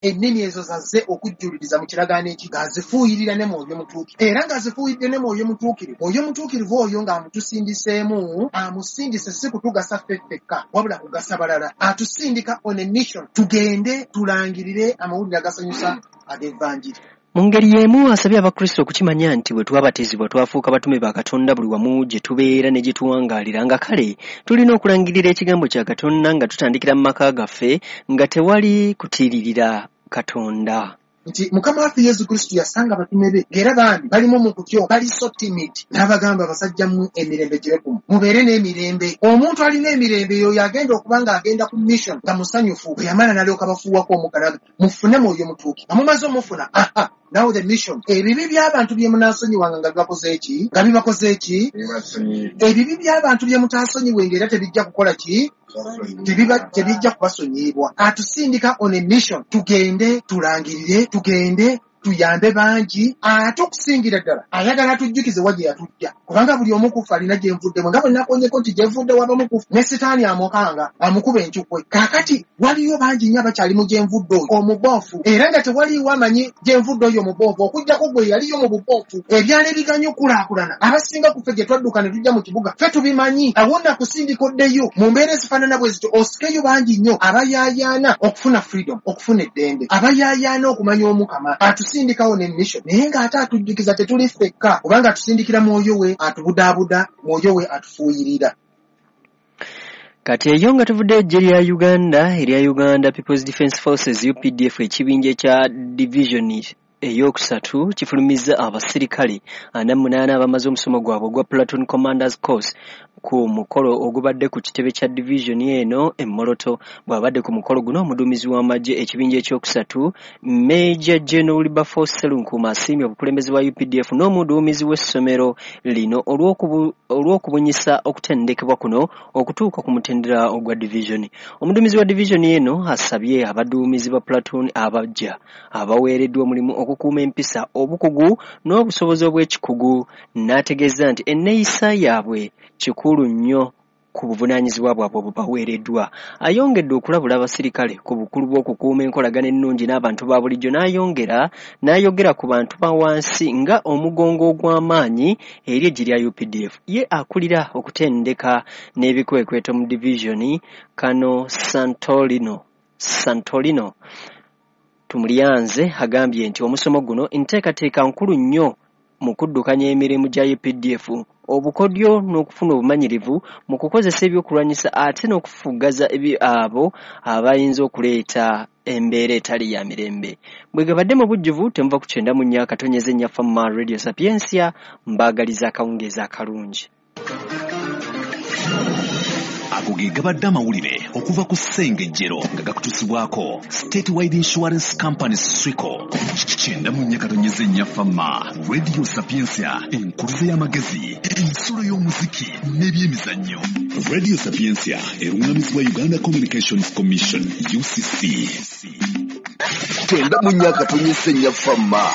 Ennimi ezo zazze okujjuliriza mu kiragaano eki ng'azifuuyirira ne Mwoyo Mutuukirivu, era ng'azifuuyiridde ne Mwoyo Mutuukirivu. Mwoyo Mutuukirivu oyo ng'amutusindiseemu, amusindise si kutugasa ffe ffekka, wabula kugasa balala. Atusindika on a mission, tugende tulangirire amawulire agasanyusa ag'Evanjiri. Mu ngeri y'emu asabye Abakristo okukimanya nti bwe twabatizibwa twafuuka batume ba Katonda buli wamu gye tubeera ne gye tuwangaalira, nga kale tulina okulangirira ekigambo kya Katonda nga tutandikira mu maka gaffe nga tewali kutiiririra Katonda. Nti Mukama waffe Yesu Kristo yasanga abatume be ng'era bambi balimu mu kutyo, bali so timid, n'abagamba, "Abasajja mmwe, emirembe gibe ku mmwe, mubeere n'emirembe." Omuntu alina emirembe yoyo agenda okuba ng'agenda ku mission nga musanyufu. Bwe yamala n'alyoka bafuuwako omukka n'agamba, "Mufune Mwoyo Mutuukirivu." Nga mumaze omufuna, aha, now the mission. Ebibi by'abantu bye munaasonyiwanga nga bibakoze ki? Nga bibakoze ki? Ebibi by'abantu bye mutaasonyiwenga era tebijja kukola ki? Tebijja kubasonyiyibwa. Atusindika on a mission, tugende tulangirire, tugende tuyambe bangi. Ate okusingira ddala ayagala atujjukize wa gye yatujja, kubanga buli omu kufa alina gye nvuddemu, nga bwe nakonyeko nti gye nvudde wabamu kufa ne Sitaani amukanga amukuba encukwe. Kaakati waliyo bangi nnyo abakyali mu gye nvudde oyo omuboofu, era nga tewaliiwo amanyi gye nvudde oyo omuboofu okuggyako gwe yaliyo mu buboofu. Ebyalo ebiganye okulaakulana, abasinga ku ffe gye twadduka ne tujja mu kibuga ffe tubimanyi. Awo nakusindika oddeyo mu mbeera ezifaanana bwe zityo, osikeyo bangi nnyo abayaayaana okufuna freedom, okufuna eddembe, abayaayaana okumanya Omukama. Atusindikawo ne mission, naye ng'ate atujjukiza tetuli ffekka, kubanga atusindikira Mwoyo we atubudaabuda, Mwoyo we atufuuyirira. Kati eyo nga tuvudde eggye lya Uganda erya Uganda People's Defence Forces, UPDF, ekibinja ekya division eyokusatu kifulumizza abasirikale 48 abamaze omusomo gwabwe ogwa Platoon Commanders Course ku mukolo ogubadde ku kitebe kya division eno e Moroto. Bw'abadde ku mukolo guno, omuduumizi w'amagye ekibinja ekyokusatu, Major General Wilberforce Sserunkuuma, asiimye obukulembeze bwa UPDF n'omuduumizi w'essomero lino olw'okubunyisa okutendekebwa kuno okutuuka ku mutendera ogwa division. Omuduumizi wa division eno asabye abaduumizi ba platoon abajja abaweereddwa omulimu okukuuma empisa, obukugu n'obusobozi obw'ekikugu, n'ategeeza nti enneeyisa yaabwe kikulu nnyo ku buvunaanyizibwa bwabwe obubaweereddwa. Ayongedde okulabula abasirikale ku bukulu bw'okukuuma enkolagana ennungi n'abantu ba bulijjo, n'ayongera n'ayogera ku bantu ba wansi nga omugongo ogw'amaanyi eri eggye lya UPDF. Ye akulira okutendeka n'ebikwekweto mu division, Kano Santolino Tumulyanze, agambye nti omusomo guno nteekateeka nkulu nnyo mu kuddukanya emirimu gya UPDF, obukodyo n'okufuna obumanyirivu mu kukozesa ebyokulwanyisa, ate n'okufugaza abo abayinza okuleeta embeera etali ya mirembe. Bwe gabadde mu bujjuvu, temuva ku 94.4 Fama Radio Sapiensia. Mbaagaliza akawungeezi akalungi. Ago ge gabadde amawulire okuva ku Ssengejjero nga gakutusibwako Statewide Insurance Company, Swico. 94.4 Fama Radio Sapiensia, enkuluze y'amagezi, ensulo y'omuziki n'ebyemizannyo. Radio Sapiensia eruŋŋamizibwa Uganda Communications Commission, UCC. 94.4 Fama.